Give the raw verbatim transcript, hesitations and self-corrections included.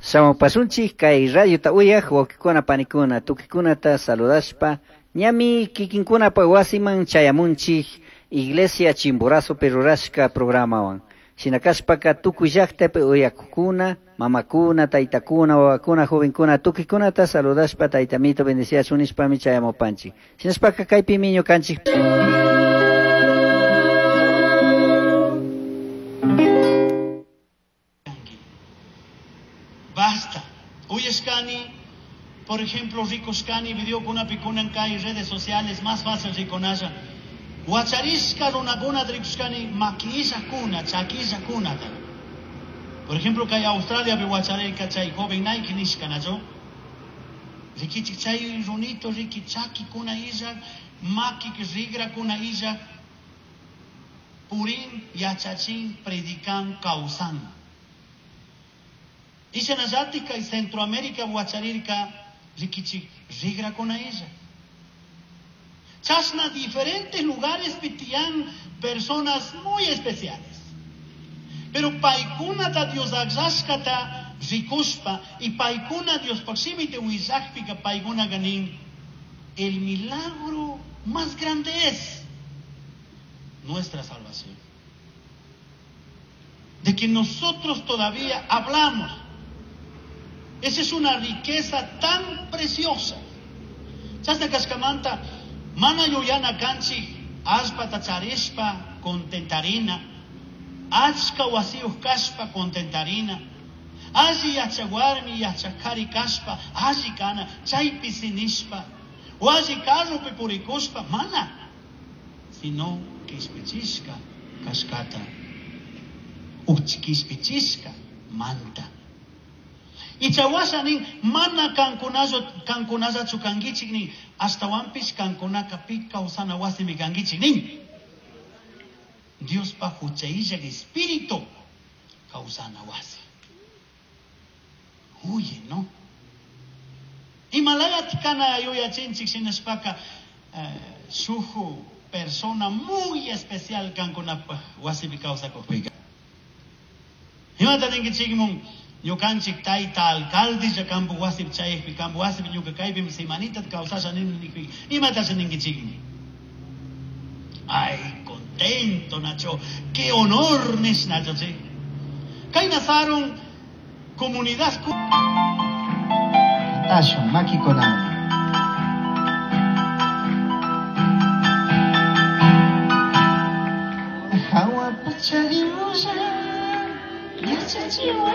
Shamupasunchik kay radiota uyaq wawqikuna panikuna tukikunata saludashpa ñami kikinkunapa wasiman chayamunchik Iglesia Chimborazopi rurashka programawan. Shina kashpaka tukuy llaqtapi uyakukuna, mamakuna, taytakuna, wawakuna, jovenkuna, tukikunata saludashpa taytamito bendeciachun nishpami chayamupanchik. Shinashpaka kaypimi ñukanchik. Basta. Uyashkani, por ejemplo, rikushkani, videokunapi kunan kay redes sociales más fácil rikunalla. Wacharishka runakuna rikushkani makillakuna, chakillakuna. Por ejemplo, kay Australiapi wacharirka chay joven Nike nishka, nacho? Rikichik chay runito, riki chakikuna illak, maki rigrakuna illak, purin, yachachin, predican, kawsan. Ishanallati kay Centroamérica wacharirka rikichik rigrakuna illak. Chashna diferentes lugares pitian personas muy especiales. Pero paykunata Dios akllashkata rikushpa y paykuna Dios pakshimite willakpika paykuna ganin. El milagro más grande es nuestra salvación. De que nosotros todavía hablamos. Esa es una riqueza tan preciosa. Chashna kashkamanta mana yuyana kanchik allpata charishpa contentarina, achka wasiyuq kashpa contentarina, alli yachaq warmi yachaq qhari kashpa alli kana chaypi sinishpa, o alli carropi purikushpa mana, sino kishpichishka kashkata, uch kishpichishka manta. Ichawasha nin mana kankunallachu kankunallachu kankichik nin, ashtawanpish kankunaka pi kawsana wasimi kankichik nin. Diospa huchayllak espíritu kawsana wasi. Huye, ¿no? Imalayat kana yuyachinchik shinashpaka eh, shuju persona muy especial kankunapaj wasipi kawsakukpika. Imata ninkichikmun ñukanchik tayta alcalde kampu wasipi chayakpi kampu wasipi ñuka kaypimi semanita kawsasha nini nikpi imatasha ninkichikmi. Ay, contento Nacho, qué honor nish Nacho, sí. Kay nasarun comunidad Tashun makikunawan. Hawa pacha Dioslla yachachiway.